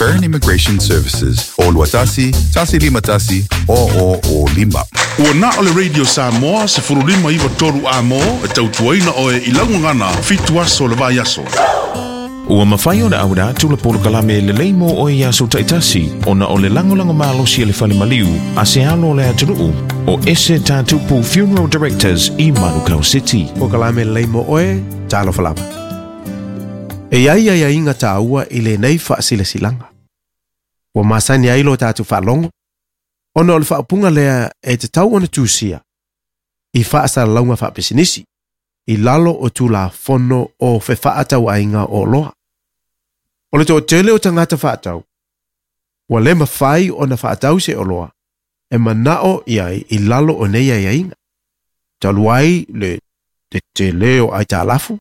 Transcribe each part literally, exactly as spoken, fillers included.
Fern Immigration Services o Luatasi, Tasi Lima Tasi, o o o Lima. Ua na o le Radio Samoa se furulima iwa toru a mo e tautuaina oe i laugagana fitu aso le vai aso. Ua mawhai ona aura atu le polokalame le leimo o ia so taitasi ona o le langolango malosi e le fale maliu a se alo le atunuu o Ese Tatupu Funeral Directors i Manukau City. Polokalame le leimo oe, talo falava. E ai ai ai inga tāua i le nei whaasilasilanga. Ua masani ai lo tātu whaalongo, ona o le whaapunga lea e te tau ona tūsia i whaasalaunga whaapisinisi i lalo o tūla fono o whewhaatau ainga o loa. O le tō tele o tangata whaatau, ua le mawhai o na whaatau se o loa, e manao i ai i lalo o nei ai ainga. Talu ai le te te leo ai tālafu,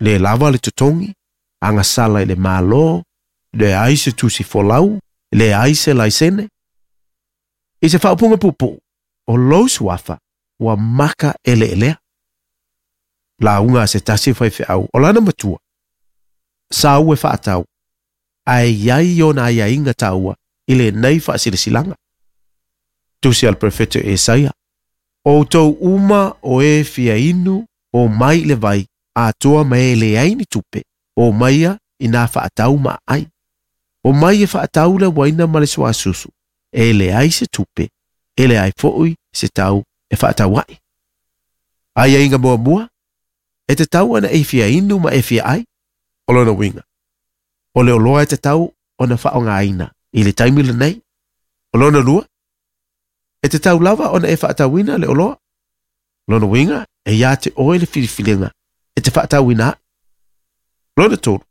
le lava le totongi, anga sala i le malo, le ai se tusi folau, le ai se laisene. I se whaupunga pupu, o lou suafa, ua maka ele elea. La unga se tasi whai whiau, o lana matua. Sa ue whaatau, ai iai ona ai ainga taua, i le nei whaasilisilanga. Tusi al prefeto Esaia, o tau uma o e fia inu, o mai le vai, a toa mai le aini tupe, o maia i nā whaatau ma ai. O mai e whaatau le waina ma le suasusu, e le ai se tupe, e le ai fo'ui se tau e whaatau ai. Ai ainga mua mua, e te tau ana e fia inu ma e fia ai, o lona winga. O le oloa e te tau o na whaonga aina, i le taimi le nei, o lona lua, e te tau lava ona e whaatauina le oloa. Lona winga, e ia te oe le filifilinga, e te whaatauina ai. Lona tolu,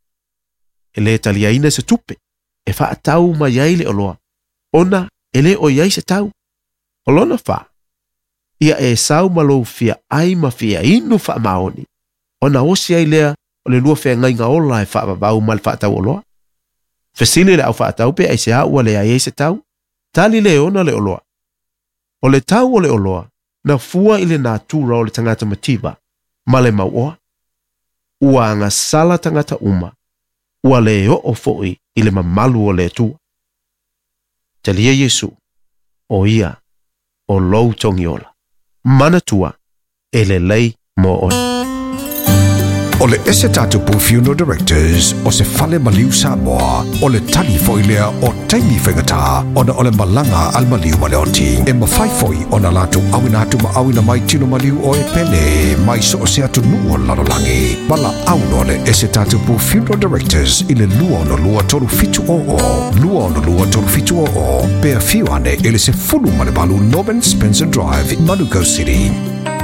e le taliaina se tupe, e whaatau mai ai le oloa, ona e le oi ai se tau. O lona wha, ia e sau malo fia ai ma fia inu wha maoni, ona osi ai lea o le lua whea ngai ngā ola e whaavavau ma le whaatau oloa. Fesili le au whaatau pe ai se aua le ai ai se tau, tali le ona le oloa. O le tau o le oloa, na fua i le nātura o le tangata mativa, ma le mauoa. Ua anga sala tangata uma, ua le o foi i le mamalu o le atua. Talia Yesu, o ia, o lou tongiola, manatua, e le lei mo oe. O le Ese Tatupu Funeral Directors o se fale maliu Samoa o le tali foi lea o taimi whaingata ona o le malanga al maliu maleoti. E mawhai foi ona latu awina atu ma awina mai tino maliu o e pele mai so o se atu nuu o lalolangi. Mala auno le Ese Tatupu Funeral Directors i le lua ono lua tolu fitu o o, lua ono lua tolu fitu o o, pea fiuane ele se fulu malebalu Norman Spencer Drive, Manukau City.